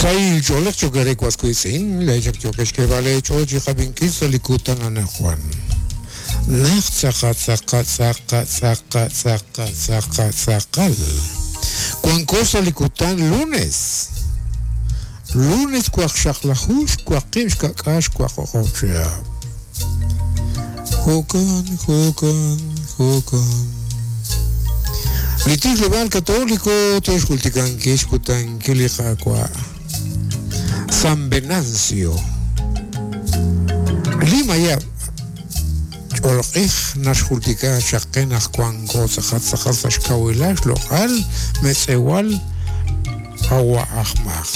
Sahil ch'oolej cho'q eere was wiitz'in, laa'ex ak yookex xk'eeb'al eech'ool chi qab'inkil sa' li kutan anaqwan. Naq tz'aqal tz'aqal tz'aqal tz'aqal tz'aqal tz'aqal tz'aqal wanko sa' li kutan lunes, lunes waqxaqlaju xwaqib' xka'k'aal xwaqo'q'ob' chihab'. Jo'kan, jo'kan, jo'kan. Li tijleb'aal Katoliko te'xjultikankil xkutankil li Qaawa'. San Venancio. Li mayab' ch'olq'ij naxjultika chaq qe naq wanko tz'aqal tz'aqal sa' xkawilal xloq'al metz'ewal qawa' aj Maj.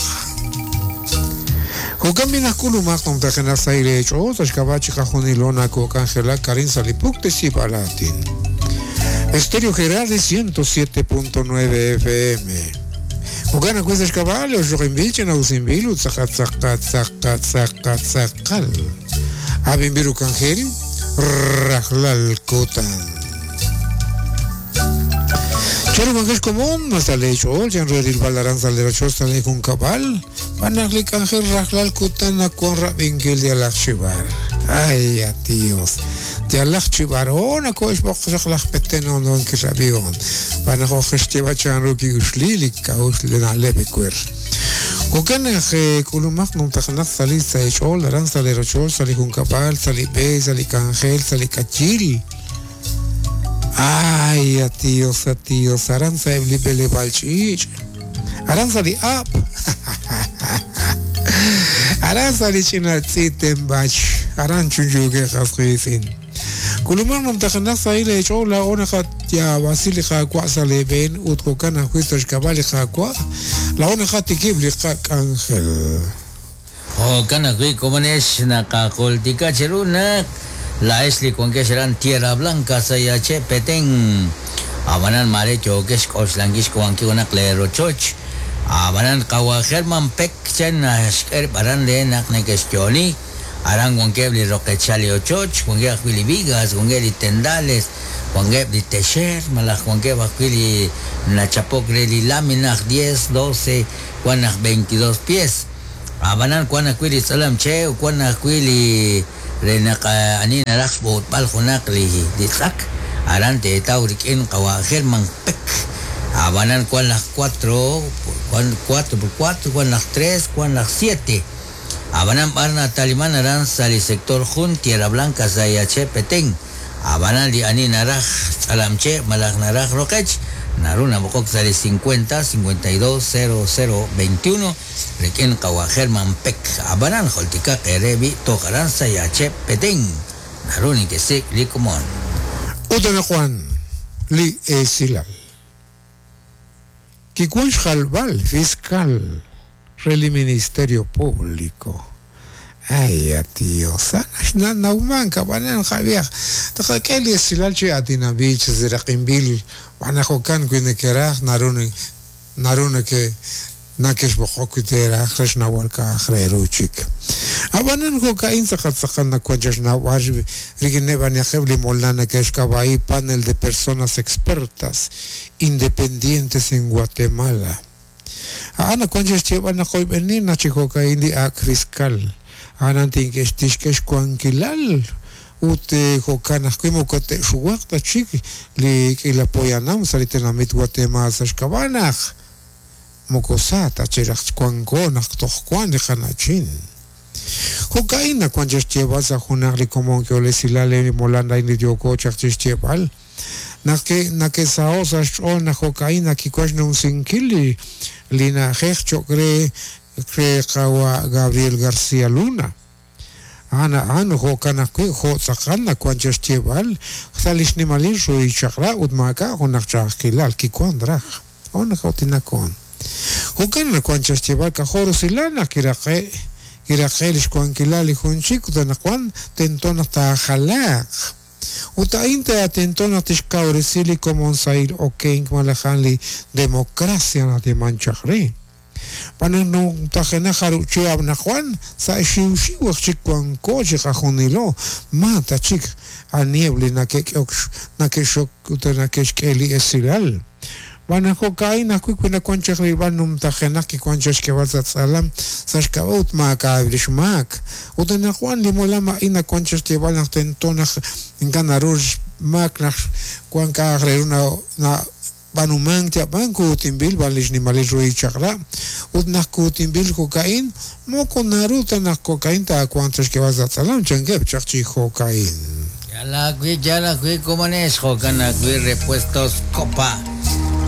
Jo'kan b'i' naq k'ulumaq numtajenaq sahil eech'ool sa' xk'ab'a' chiqajunilo nakok'anjelak arin sa' li puktesib'aal aatin. Estéreo Gerardi 107.9 FM. Jo'kan ajwi' sa' xk'ab'a' li oxloq'inb'il ch'ina'usinb'il ut tz'aqal tz'aqal tz'aqal tz'aqal tz'aqal. Ab'inb'il ru k'anjel rajlal kutan. Chanru wankex komon ma sa' lee ch'ool chan re rilb'al aran sa' lee rochoch sa' lee junkab'al b'an naq li k'anjel rajlal kutan nawan rab'inkil yalaq chi b'ar. Ay, a Dios. Yalaq chi b'ar oh nako'xb'oq chaq laj Peten on kirab'ihom. B'an naq ojex xyeeb'al chanru ki'uxli li k'a'uxl li na'leb' ewer. Jo'kan naq k'ulumaq numtajenaq sa' li sa' eech'ool aran sa' lee rochoch, sa' li junkab'al, sa' li b'e, sa' li k'anjel, sa' li k'ayil. Ay, a Dios, a Dios, aran sa'eb' li b'eleb'aal ch'iich', aran sa' li ab', aran sa' li ch'ina tz'i' tenb'ach, aran chunchuukeb' qas qiitz'in. K'ulumaq numtajenaq sahil eech'ool laa'o naqayaab'asi li Qaawa' sa' lee b'een ut jo'kan ajwi' sa' xk'ab'a' li Qaawa' laa'o naqatikib' li qak'anjel. Jo'kan ajwi' komonex naqajultika cheru naq laa'ex li wankex aran Tierra Blanca sa' Yache' Petén. Ab'anan maare yookex xk'oxlankil xk'uub'ankil junaq lee rochoch. Ab'anan qawa' German Peck chan naxk'e rib' aran re naq neke'xyo'oni. Aran wankeb' li roqechal li ochoch, wankeb' ajwi' li vigas, wankeb' li tendales, wankeb' li texer malaj wankeb' ajwi' li nachapok re li lamina aj diez, doce, wan aj veintidós pies. Ab'anan wan ajwi' li tz'alam che' ut wan ajwi' li re naq ani naraj xb'ootb'al junaq li li tz'ak, aran teetaw rik'in qawa' German Peck. Ab'anan wan laj cuatro, wan cuatro por cuatro, wan laj tres, wan laj siete. Ab'anan b'ar nataliman aran sa' li sector jun Tierra Blanca sa' Yache' Petén. Ab'anan li ani naraj tz'alamche' malaj naraj roqech, naru nab'oqok sa' li 50 52 0 0 21 rik'in qawa' German Peck. Ab'anan jultikaq eere b'i' toj aran sa' Yache' Petén naru nekesik' li komon. Ut anaqwan li esilal. Kiwan xjalb'al fiscal re li Ministerio Público. Ay, at Dios, sa' naxnawmank, ab'anan qab'ihaq, tqak'e li esilal chi aatinanb'il, chi seraq'inb'il, xb'aan naq jo'kan wi nekeraj naru naru neke nakexb'oqok wi teeraj re xnawb'al k'a'aq re ru chik. Ab'anan jo'ka'in tz'aqal tz'aqal nawan chixnawb'al rik'ineb' anihaqeb' li molam neke'xk'ab'a'i Panel de Personas Expertas Independientes en Guatemala. A'an nawank chi xyeeb'al naq oyb'eni naq chi jo'ka'in li ak' fiscal a'an tixk'e xwankilal ut jo'kan ajwi' moko te'xuwaq ta chik li k'iila poyanam sa' li tenamit Guatemala sa' xk'ab'a' naq moko sa ta chik raj wanko naq toj wank li qana'chin. Jo'ka'in nawank chi xyeeb'al sa' junaq li komon k'ehol esilal re li molam a'in li yooko chaq chi xyeeb'al. Naq nake'saho' sa' xch'ool naq jo'ka'in nakiwan xnumsinkil li li na'ajej cho'q re re qawa' Gabriel García Luna. A'an a'an jo'kan ajwi' jo' tz'aqal nawan chaq xyeeb'al sa' li xnimalil ruhil chaq'rab' ut maak'a' junaq ch'a'ajkilal kiwan raj. On nakautinakoon. Jo'kan nawan chaq xyeeb'al k'ajo' rusilal naq kiraqe' kiraqe' li xwankilal li jun chik ut anaqwan tento naq taajalaaq. Ut a'in tento naq tixkawresi li komon sahil okenk malaj a'an li democracia nayeeman chaq re. Xb'aan naq numtajenaq jarub' chihab' anaqwan, sa' xiwxiw aj chik wanko chiqajunilo, ma ta chik aniheb' li nake'k'ehok nake'xok ut nake'xk'e li esilal. B'an jo'ka'in ajwi' wi nawank chaq rilb'al numtajenaq kiwank chaq xk'eeb'al sa' tz'alam sa' xk'ab'a' ut maak'a' li xmaak. Ut anaqwan li molam a'in nawank chaq xyeeb'al naq tento naq ink'a' naru xmaak naq wank k'a'aq re ru nab'aanumank yab'an kuutinb'il b'an li xnimalil ruhil chaq'rab' ut naq kuutinb'il jo'ka'in moko naru ta naq jo'ka'in taawanq chaq xk'eeb'al sa' tz'alam chankeb' chaq chi jo'ka'in. Yal ajwi' komonex jo'kan ajwi' Repuestos Copa.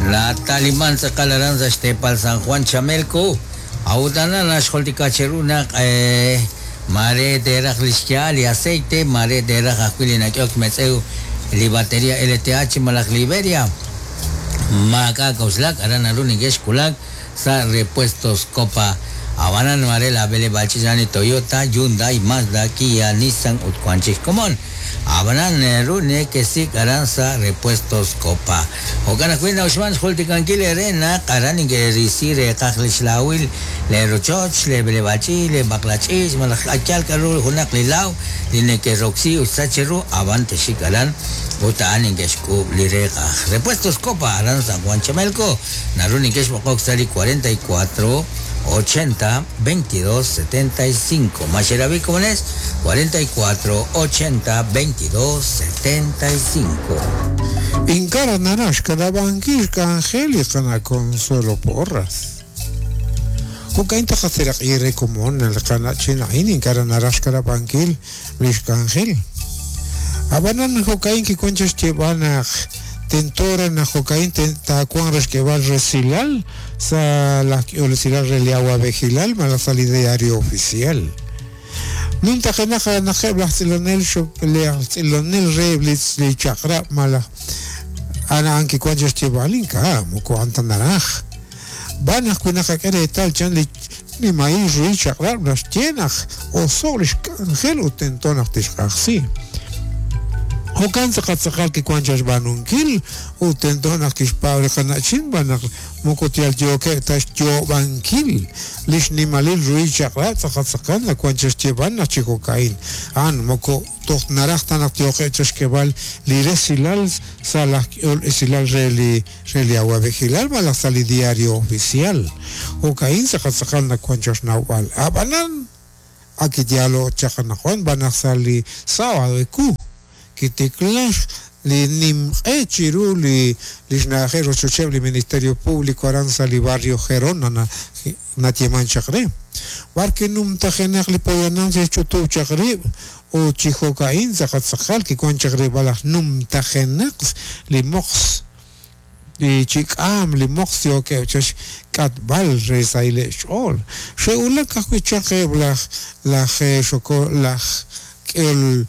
La taliman tz'aqal aran sa' xteepal San Juan Chamelco. A'ut anan naxjultika cheru naq mare teeraj li xyaal li aceite, mare teeraj ajwi' li nak'ehok metz'ew li batería LTH malaj Liberia. Maak'a' k'a'uxlak aran naru neke'xkulak sa' Repuestos Copa. Abanan mare la b'eleb'aal ch'iich' li Toyota, Hyundai, Mazda, Kia, Nissan ut wank chik xkomon. Abanan ru nekesik' aran sa' Repuestos Copa. Jo'kan ajwi' na'uxman xjultikankil eere naq aran neke'risi reeqaj li xlaawil le rochoch, le b'eleb'aal ch'iich', le b'aqla ch'iich', malaj yal k'aru junaq li laaw li neke'roksi ut sach ru ab'an texik aran ut a'an neke'xk'uub' li reeqaj. Repuestos Copa aran San Juan Chamelco naru neke'xb'oqok sa' li 44 80 22 75. Maxerabi komones 44 80 22 75. Inkara naraj xkanabankil xk'anjel li qana' Consuelo Porras. Jo'ka'in taqaseraq'i re komon li qana'chin a'in inkara naraj xkanabankil li xk'anjel. Ab'anan jo'ka'in kiwank chaq xyeeb'al naq tentora naq jo'ka'in taawanq re xk'eeb'al resilal sa' laj k'ehol esilal re li awa'b'ejilal malaj sa' li diario oficial. Numtajenaq naqeb' laj tz'ilonel laj tz'ilonel re li chaq'rab' malaj a'an kiwank chaq xyeeb'al ink'a' moko a'an ta naraj. B'an ajwi' naqak'e reetal chan li nimahil ruhil chaq'rab' naxye naq oso'k li xk'anjel ut tento naq tixq'ajsi. Jo'kan tz'aqal tz'aqal kiwank chaq xb'aanunkil ut tento naq kixpaab' li qana'chin b'an naq moko yal yookeb' ta xyoob'ankil li xnimalil ruhil chaq'rab' tz'aqal tz'aqal nawank chaq xyeeb'al naq chi jo'ka'in. A'an moko toj naraj ta naq yooqeb' chaq xk'eeb'al li resilal sa' laj k'ehol esilal re li awa'b'ejilal malaj sa' li diario oficial. Jo'ka'in tz'aqal tz'aqal nawank chaq xnawb'al. Ab'anan ak yaalo chaq anaqwan b'an naq sa' li sábado ewu kitiklax li nimq'e chiru li xna'ajej rochocheb' li Ministerio Público aran sa' li barrio Gerona natieman chaq re. B'ar kinumtajenaq li poyanam xe'xch'utub' chaq rib' ut chi jo'ka'in tz'aqal tz'aqal kiwank chaq rilb'al laj numtajenaq li moqs li chik'aam li moqs yookeb' chaq xk'atb'al re sahileb' xch'ool. Xe'wulak ajwi' chaq eb' laj laj xoko laj k'ehol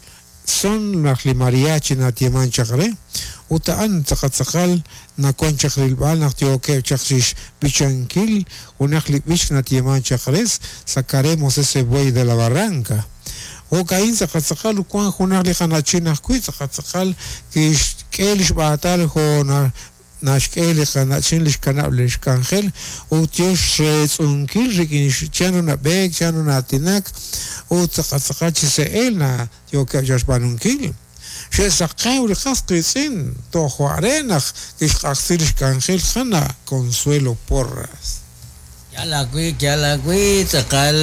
son laj li mariachi natieman chaq re ut a'an tz'aqal tz'aqal nawank chaq rilb'al naq yookeb' chaq chixb'ichankil junaq li b'ich natieman chaq re sacaremos ese buey de la barranca. Jo'ka'in tz'aqal tz'aqal wank junaq li qana'chin ajwi' tz'aqal tz'aqal kixk'e li xb'aatal jo' naxk'e li qana'chin li xkanab' li xk'anjel ut yo xreetz'unkil rik'in chanru nab'eek, chanru na'aatinak ut tz'aqal tz'aqal chi se'el na yookeb' chaq xb'aanunkil. Xe'saqew li qas qiitz'in toj are naq kixq'ajsi li xk'anjel qana' Consuelo Porras. Yal ajwi' tz'aqal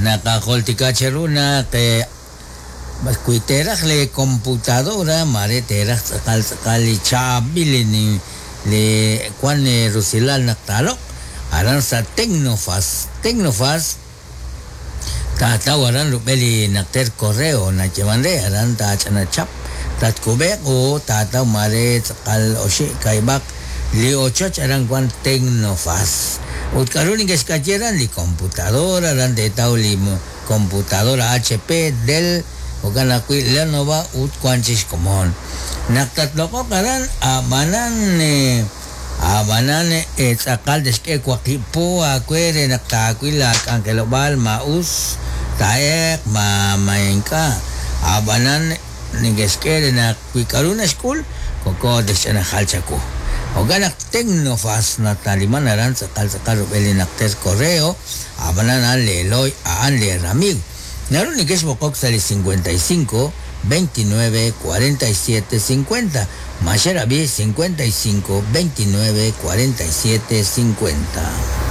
naqajultika cheru naq wi teeraj li computadora mare teeraj tz'aqal tz'aqal li chaab'il li wan rusilal naq taaloq' aran sa' Tecnofas. Tecnofas taataw aran rub'el li naqter correo nayeeman re aran taach'anachap tatkub'eq u taataw mare tz'aqal oxi' kayb'aq li ochoch aran wan Tecnofas. Ut k'aru neke'xk'ayi aran li computadora aran teetaw li computadora HP, Dell, jo'kan ajwi' Lenovo ut wan chik xkomon. Naq tatloq'oq aran ab'anan tz'aqal texk'e waqib' po aawe re naq taawil laak'anjelob'aal ma us taa'eq ma ink'a'. Ab'anan neke'xk'e re naq wi k'aru naxk'ul koko texch'anajal chawu. Jo'kan naq Tecnofas nataliman aran tz'aqal tz'aqal rub'el li naqter correo ab'anan a'an leeloy a'an leeramiiw. Naru neke'xb'oqok sa' li 55 29 47 50. Maxerabi 55 29 47 50.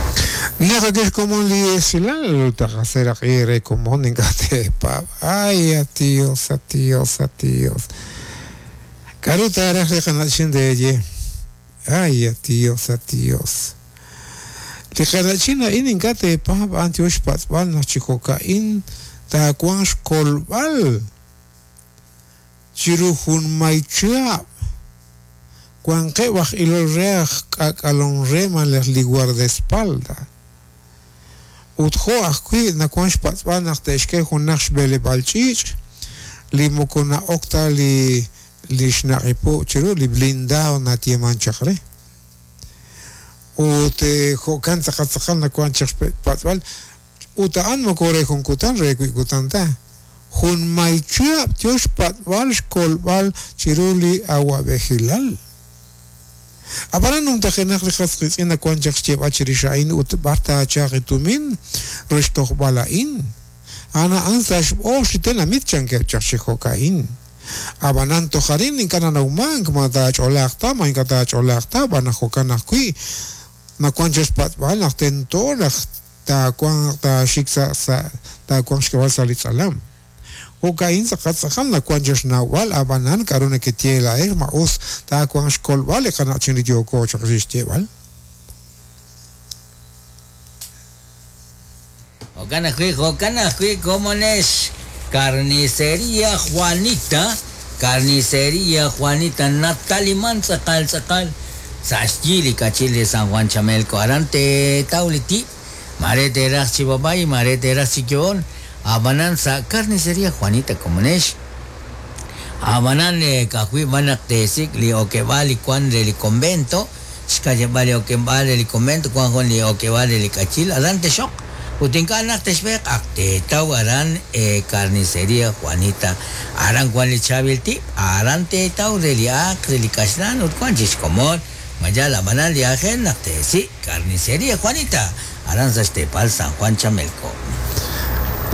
Naqak'e xkomon li esilal taqaseraq'i re komon ink'a' teepaab'. Ay, a Dios, a Dios, a Dios. K'a'ru taaraj li qana'chin teeye? Ay, a Dios, a Dios. Li qana'chin a'in ink'a' teepaab' a'an yoo xpatz'b'al naq chi jo'ka'in taawanq xkolb'al chiru junmay chihab'. Wanqeb' aj ilol re aj k'aak'alom re malaj li guardaespalda. Ut jo' ajwi' nawank xpatz'b'al naq te'xk'e junaq xb'eleb'aal ch'iich' li moko na'ok ta li li xnaq'ipu' chiru li blindado nayeeman chaq re. Ut jo'kan tz'aqal tz'aqal nawank chaq xpatz'b'al ut a'an moko re jun kutan re wi' kutan ta. Junmay chihab' yo xpatz'b'al xkolb'al chiru li awa'b'ejilal. Ab'anan numtajenaq li qas qiitz'in nawank chaq xyeeb'al chirix a'in ut b'ar taachalq li tumin re xtojb'al a'in. A'an a'an sa' xb'oox li tenamit chankeb' chaq chi jo'ka'in. Ab'anan toj arin ink'a' nanawmank ma taach'olaaq ta ma ink'a' taach'olaaq ta ab'an jo'kan ajwi' nawank chaq xpatz'b'al naq tento naq taawanq taaxik sa' sa' taawanq xk'eb'al sa' li tz'alam. Jo'ka'in tz'aqal tz'aqal nawank chaq xnawb'al ab'anan k'a'ru nekeye laa'ex ma us taawanq xkolb'al li qana'chin li yooko chaq chixyeeb'al. Jo'kan ajwi', jo'kan ajwi' komonex Carnicería Juanita, Carnicería Juanita nataliman tz'aqal tz'aqal sa' xyi li kachil re San Juan Chamelco aran teetaw li tib', mare teeraj chi b'ab'ay, mare teeraj chi yo'on, ab'anan sa' Carnicería Juanita komonex. Ab'anan ka'ajwi' b'an naq teesik' li okeb'aal li wan re li convento, xka'yab'al li okeb'aal re li convento wan jun li okeb'aal re li k'ayil aran texoq ut ink'a' naq texb'eeq ak teetaw aran Carnicería Juanita aran wan li chaab'il tib' aran teetaw re li aaq re li kaxlan ut wan chik xkomon ma yaal ab'anan li aajel naq teesik' Carnicería Juanita aran sa' xteepal San Juan Chamelco.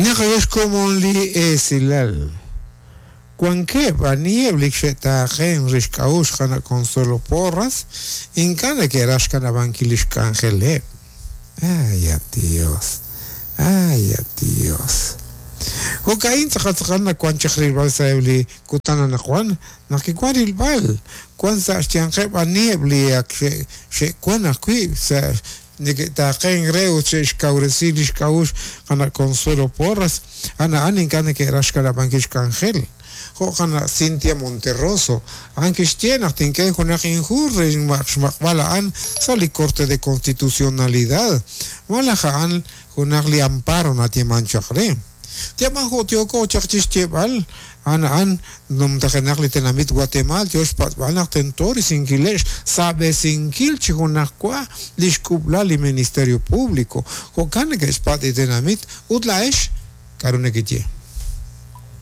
Naqak'e xkomon li esilal. Wankeb' aniheb' li xe'taaqenk re xk'a'uxl qana' Consuelo Porras ink'a' neke'raj xkanab'ankil li xk'anjeleb'. Ay, a Dios! Ay, a Dios! Jo'ka'in tz'aqal tz'aqal nawank chaq rilb'al sa'eb' li kutan anaqwan naq kiwank rilb'al wank sa' xyanqeb' aniheb' li ak xe'wank ajwi' sa' neke'taaqenk re ut xe'xkawresi li xk'a'uxl qana' Consuelo Porras, a'an a'an ink'a' neke'raj xkanab'ankil xk'anjel. Jo' qana' Cynthia Monterroso, a'an kixye naq tink'e junaq inhu re xmaq'b'al a'an sa' li Corte de Constitucionalidad, malaj a'an junaq li amparo nayeeman chaq re. Yab'an jo' yooko chaq chi xyeeb'al, a'an a'an numtajenaq li tenamit Guatemaal yo xpatz'b'al naq tento risinkileb' xsab'esinkil chi junajwa li xk'ub'lal li Ministerio Público. Jo'kan neke'xpatz' li tenamit ut laa'ex k'a'ru nekeye.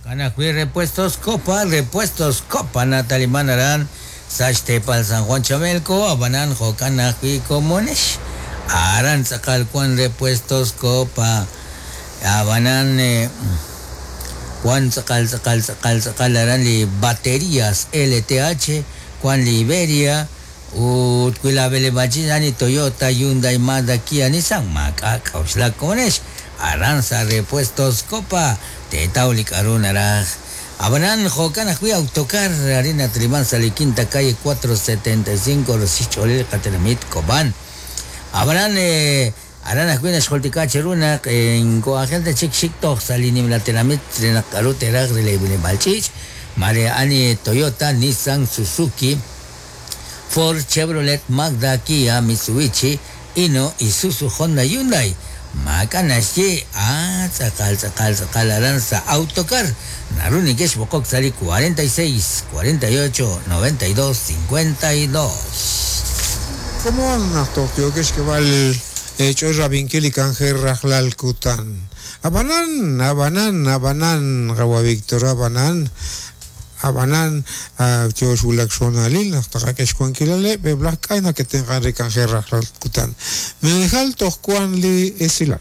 Jo'kan ajwi' Repuestos Copa, Repuestos Copa nataliman aran sa' xteepal San Juan Chamelco, ab'anan jo'kan ajwi' komonex aran tz'aqal wan Repuestos Copa. Ab'anan wan tz'aqal tz'aqal tz'aqal tz'aqal aran li baterías LTH, wan li Iberia ut wi laab'eleb'aal ch'iich' a'an li Toyota, Hyundai, Mazda, Kia, Nissan maak'a' k'a'uxlak komonex aran sa' Repuestos Copa teetaw li k'a'ru naraj. Ab'anan jo'kan ajwi' Autocar arin nataliman sa' li Quinta Calle 475 roxil xch'oolil li qatenamit Cobán. Ab'anan Aran ajwi' naxjultika cheru naq ink'o aajel ta chik xik toj sa' li nimla tenamit re naq k'aru te'raj re leeb'ileb'aal ch'iich', maare a'an li Toyota, Nissan, Suzuki, Ford, Chevrolet, Mazda, Kia, Mitsubishi, Hino, Isuzu, Honda, Hyundai. Maak'a' naxye, a tz'aqal tz'aqal tz'aqal aran sa' Autocar naru neke'xb'oqok sa' li 46 48 92 52. Komon naq toj yookex xk'eb'al eech'ool rab'inkil li k'anjel rajlal kutan. Ab'anan, ab'anan, ab'anan, qawa' Victor, ab'anan, ab'anan, yo xwulak xhoonalil naq taqak'e xwankilaleb' eb' laj k'ay nake'tenq'an re k'anjel rajlal kutan. Meejal toj wank li esilal.